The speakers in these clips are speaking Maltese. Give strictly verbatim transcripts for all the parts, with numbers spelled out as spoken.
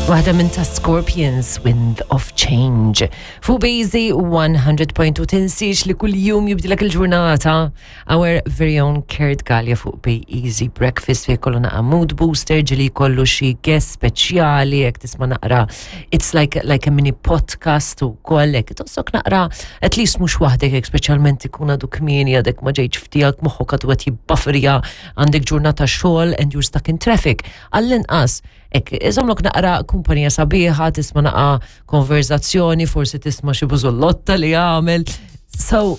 Waħda minn ta' Scorpions, Wind of Change. Fuq B-Easy one hundred point two, tinsiex li kull jum jibdilek il-ġurnata. Our very own Kurt Galea fuq B-Easy Breakfast fih kollu naqa mood booster, ġieli kollu xi guest speċjali, jekk tisma' naqra, it's like, like a mini podcast u kollek. Tħossok naqra, at least mhux waħdek, jekk speċjalment ikun għadu kmieni, għadek ma ġejtx f'tiegħek, moħħok għadu qed jibbafferja, għandek ġurnata xogħol and you're stuck in traffic. Għall-inqas, hekk, iżommlok naqra kumpanija sabiħa, tisma' naqa konverzazzjoni, forsi tisma' xi bużullotta li għamel. So,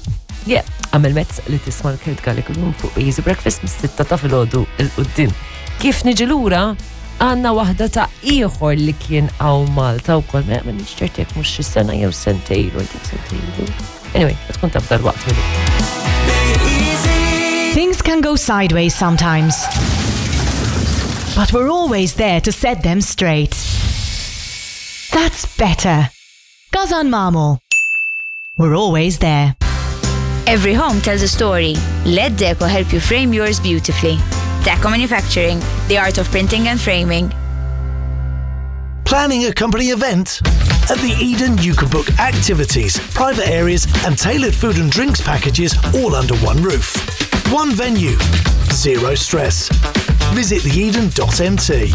yeah, għamel mezz li tisma' l-Kurt Galea kuljum fuq Easy Breakfast mis-sitta ta' filgħodu 'l quddiem. Kif niġi lura, għandna waħda ta' ieħor li kien hawn Malta u kol, ma ċert jekk mhux xi sena jew sentejn, I think sentejn. Anyway, tkun taf dal-waqt minnu. Things can go sideways sometimes. But we're always there to set them straight. That's better. GasanMamo. We're always there. Every home tells a story. Let Deco help you frame yours beautifully. Deco Manufacturing, the art of printing and framing. Planning a company event? At the Eden, you can book activities, private areas, and tailored food and drinks packages all under one roof. One venue, zero stress. Visit theeden dot M T.